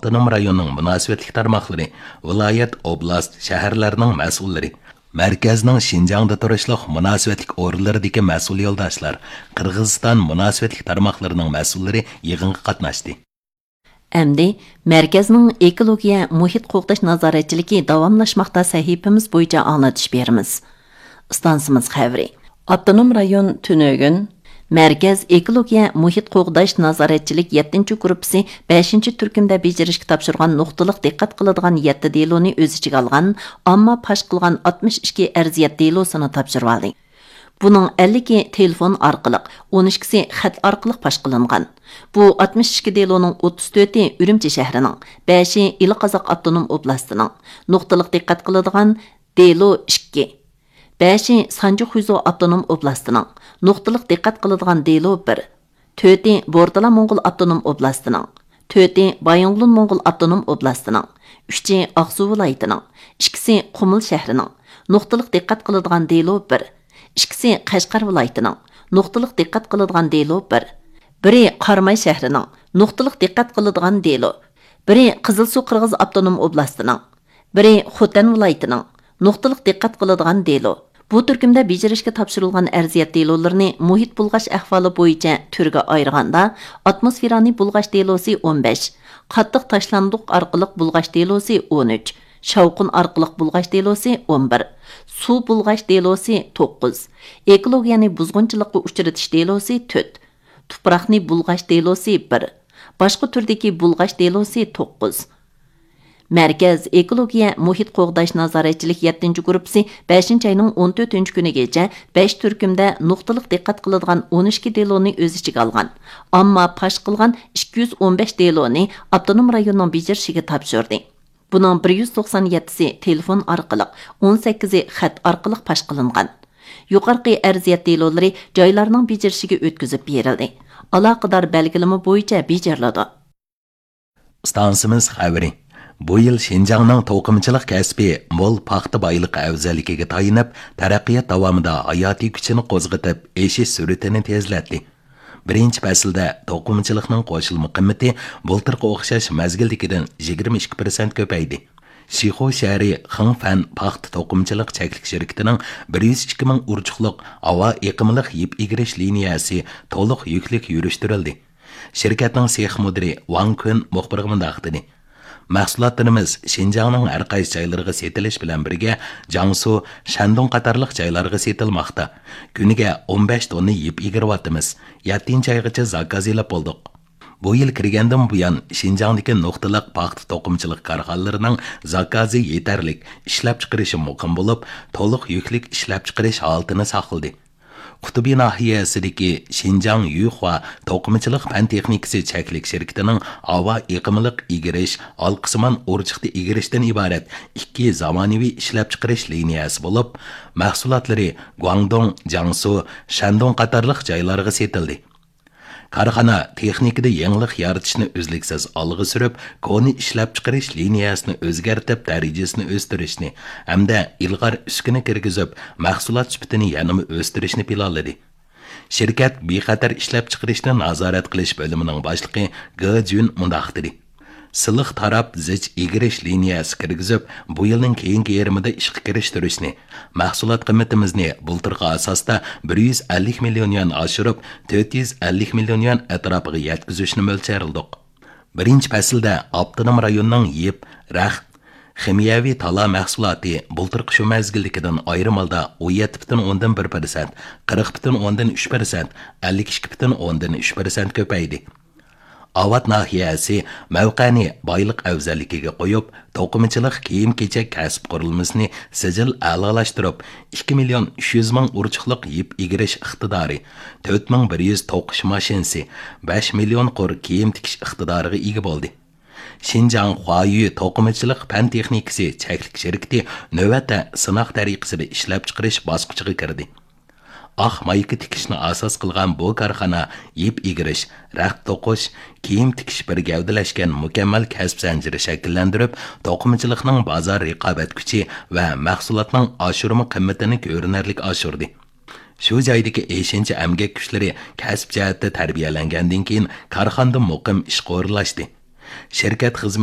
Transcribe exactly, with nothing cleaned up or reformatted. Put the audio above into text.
ئاپتونوم رايوننىڭ مۇناسىۋەتلىك تارماقلىرى، ۋىلايەت، ئوبلاست، شەھەرلەرنىڭ مەسئۇللىرى، مەركەزنىڭ شىنجاڭدا تۇرۇشلۇق مۇناسىۋەتلىك ئورۇنلىرىدىكى مەسئۇل يولداشلار، قىرغىزىستان مۇناسىۋەتلىك تارماقلىرىنىڭ مەسئۇللىرى يىغىنغا قاتناشتى. ئەمدى مەركەزنىڭ ئېكولوگىيە مۇھىت قوغداش نازارەتچىلىكى داۋاملاشماقتا سەھىپىمىز بويىچە ئاڭلىتىش بېرىمىز. ئىستانسىمىز خەۋىرى. ئاپتونوم رايون تۈنۈگۈن مەركەز ئېكولوگىيە مۇھىت قوغداش نازارەتچىلىك يەتتىنچى گۇرۇپپىسى بەشىنچى تۈركۈمدە بېجىرىشكە تاپشۇرغان نۇقتىلىق دىققەت قىلىدىغان يەتتە دېلونى ئۆز ئىچىگە ئالغان، ئامما پاش قىلغان ئاتمىش ئىككى ئەرزىيەت دېلوسىنى تاپشۇرۇۋالدى. بۇنىڭ ئەللىكى تېلېفون ئارقىلىق، ئون ئىككىسى خەت ئارقىلىق پاش قىلىنغان. بۇ ئاتمىش ئىككى دېلونىڭ ئوتتۇز تۆتى ئۈرۈمچى شەھىرىنىڭ، بەشى ئىلى قازاق ئاپتونوم ئوبلاستىنىڭ، نۇقتىلىق دىققەت قىلىدىغان دېلو ئىككى، بەشى سانجى خۇيزۇ ئاپتونوم ئوبلاستىنىڭ، نۇقتىلىق دىققەت قىلىدىغان دېلو بىر، تۆتى بورتالا موڭغۇل ئاپتونوم ئوبلاستىنىڭ، تۆتى بايىنغولىن موڭغۇل ئاپتونوم ئوبلاستىنىڭ، ئۈچى ئاقسۇ ۋىلايىتىنىڭ، ئىككىسى قۇمۇل شەھىرىنىڭ، نۇقتىلىق دىققەت قىلىدىغان دېلو بىر، ئىككىسى قەشقەر ۋىلايىتىنىڭ، نۇقتىلىق دىققەت قىلىدىغان دېلو بىر، بىرى قاراماي شەھىرىنىڭ، نۇقتىلىق دىققەت قىلىدىغان دېلو، بىرى قىزىلسۇ قىرغىز ئاپتونوم ئوبلاستىنىڭ، بىرى خوتەن ۋىلايىتىنىڭ، نۇقتىلىق دىققەت قىلىدىغان دېلو. بۇ تۈركۈمدە بېجىرىشكە تاپشۇرۇلغان ئەرزىيەت دېلولىرىنى مۇھىت بۇلغاش ئەھۋالى بويىچە تۈرگە ئايرىغاندا، ئاتموسفېرانى بۇلغاش دېلوسى ئون بەش، قاتتىق تاشلاندۇق ئارقىلىق بۇلغاش دېلوسى ئون ئۈچ، شاۋقۇن ئارقىلىق بۇلغاش دېلوسى ئون بىر، سۇ بۇلغاش دېلوسى توققۇز، ئېكولوگىيەنى بۇزغۇنچىلىققا ئۇچرىتىش دېلوسى تۆت، تۇپراقنى بۇلغاش دېلوسى بىر، باشقا تۈردىكى بۇلغاش دېلوسى توققۇز. مەركەز ئېكولوگىيە مۇھىت قوغداش نازارەتچىلىك يەتتىنچى گۇرۇپپىسى بەشىنچى ئاينىڭ ئون تۆتىنچى كۈنىگىچە بەش تۈركۈمدە نۇقتىلىق دىققەت قىلىدىغان ئون ئىككى دېلونى ئۆز ئىچىگە ئالغان، ئامما پاش قىلغان ئىككى يۈز ئون بەش دېلونى ئاپتونوم رايوننىڭ بېجىرىشىگە تاپشۇردى. بۇنىڭ بىر يۈز توقسان يەتتىسى تېلېفون ئارقىلىق، ئون سەككىزى خەت ئارقىلىق پاش قىلىنغان. يۇقىرىقى ئەرزىيەت دېلولىرى جايلارنىڭ بېجىرىشىگە ئۆتكۈزۈپ بېرىلدى. ئالاقىدار بەلگىلىمە بويىچە بېجىرىلىدۇ. ئىستانسىمىز خەۋىرى. بۇ يىل شىنجاڭنىڭ توقۇمىچىلىق كەسپى مول پاختا بايلىقى ئەۋزەللىكىگە تايىنىپ، تەرەققىيات داۋامىدا ھاياتىي كۈچىنى قوزغىتىپ، ئېشىش سۈرئىتىنى تېزلەتتى. بىرىنچى پەسىلدە توقۇمىچىلىقنىڭ قوشۇلما قىممىتى بۇلتۇرقى ئوخشاش مەزگىلدىكىدىن يىگىرمە ئىككى پىرسەنت كۆپەيدى. شىخۇ شەھىرى خېڭفەن پاختا توقۇمىچىلىق چەكلىك شىركىتىنىڭ بىر يۈز ئىككى مىڭ ئۇرچۇقلۇق ھاۋا ئېقىملىق يىپ ئېگىرىش لىنىيەسى تولۇق يۈكلۈك يۈرۈشتۈرۈلدى. شىركەتنىڭ سېخ مۇدىرى ۋاڭ كۈن مۇخبىرغا مۇنداق دېدى: مەھسۇلاتلىرىمىز شىنجاڭنىڭ ھەر قايسى جايلىرىغا سېتىلىش بىلەن بىرگە، جياڭسۇ، شەندۇڭ قاتارلىق جايلارغا سېتىلماقتا. كۈنىگە ئون بەش توننا يىپ ئېگىرىۋاتىمىز. يەتتىنچى ئايغىچە زاكاز ئېلىپ بولدۇق. بۇ يىل كىرگەندىن بۇيان، شىنجاڭدىكى نۇقتىلىق پاختا توقۇمىچىلىق كارخانىلىرىنىڭ زاكازى يېتەرلىك، ئىشلەپچىقىرىشى مۇقىم بولۇپ، تولۇق يۈكلۈك ئىشلەپچىقىرىش ھالىتىنى ساقلىدى. قۇتۇبى ناھىيەسىدىكى شىنجاڭ يۈخۇا توقۇمىچىلىق پەن تېخنىكىسى چەكلىك شىركىتىنىڭ ھاۋا ئېقىملىق ئېگىرىش، ھالقىسىمان ئۇرچۇقتا ئېگىرىشتىن ئىبارەت ئىككى زامانىۋى ئىشلەپچىقىرىش لىنىيەسى بولۇپ، مەھسۇلاتلىرى گۇاڭدۇڭ، جياڭسۇ، شەندۇڭ قاتارلىق جايلارغا سېتىلدى. كارخانا تېخنىكىدا يېڭىلىق يارىتىشنى ئۈزلۈكسىز ئالغا سۈرۈپ، كونا ئىشلەپچىقىرىش لىنىيەسىنى ئۆزگەرتىپ، دەرىجىسىنى ئۆستۈرۈشنى ھەمدە ئىلغار ئۈسكۈنە كىرگۈزۈپ، مەھسۇلات سۈپىتىنى يەنىمۇ ئۆستۈرۈشنى پىلانلىدى. شىركەت بىخەتەر ئىشلەپچىقىرىشنى نازارەت قىلىش بۆلۈمىنىڭ باشلىقى گې جۈن مۇنداق دېدى: سىلىق تاراپ زىچ ئېگىرىش لىنىيەسى كىرگۈزۈپ، بۇ يىلنىڭ كېيىنكى يېرىمىدا ئىشقا كىرىشتۈرۈشنى، مەھسۇلات قىممىتىمىزنى بۇلتۇرقى ئاساستا بىر يۈز ئەللىك مىليون يۈەن ئاشۇرۇپ، تۆت يۈز ئەللىك مىليون يۈەن ئەتراپىغا يەتكۈزۈشنى مۆلچەرلىدۇق. بىرىنچى پەسىلدە ئاپتونوم رايوننىڭ يىپ، رەخت، خىمىيەۋى تالا مەھسۇلاتى بۇلتۇرقى شۇ مەزگىلدىكىدىن ئايرىم ھالدا ئون يەتتە پۈتۈن ئوندىن بىر پىرسەنت، قىرىق پۈتۈن ئوندىن ئۈچ پىرسەنت، ئەللىك ئىككى پۈتۈن ئوندىن ئۈچ پىرسەنت كۆپەيدى. ئاۋات ناھىيەسى مەۋقەنى بايلىق ئەۋزەللىكىگە قويۇپ، توقۇمىچىلىق كىيىم-كېچەك كەسىپ قۇرۇلمىسىنى سىجىل ئەلالاشتۇرۇپ، ئىككى مىليون ئۈچ يۈز مىڭ ئۇرچۇقلۇق يىپ ئېگىرىش ئىقتىدارى، تۆت مىڭ بىر يۈز توقۇش ماشىنىسى، بەش مىليون قۇر كىيىم تىكىش ئىقتىدارىغا ئىگە بولدى. شىنجاڭ خۇايۈ توقۇمىچىلىق پەن تېخنىكىسى چەكلىك شىركىتى نۆۋەتتە سىناق تەرىقىسىدە ئىشلەپچىقىرىش باسقۇچىغا كىردى. ئاق مايكا تىكىشنى ئاساس قىلغان بۇ كارخانا يىپ ئېگىرىش، رەخت توقۇش، كىيىم تىكىش بىر گەۋدىلەشكەن مۇكەممەل كەسىپ زەنجىرى شەكىللەندۈرۈپ، توقۇمىچىلىقنىڭ بازار رىقابەت كۈچى ۋە مەھسۇلاتنىڭ ئاشۇرما قىممىتىنى كۆرۈنەرلىك ئاشۇردى. شۇ جايدىكى ئېشىنچا ئەمگەك كۈچلىرى كەسىپ جەھەتتە تەربىيەلەنگەندىن كېيىن، كارخانىدا مۇقىم ئىشقا ئورۇنلاشتى. شىركەت خىزمەت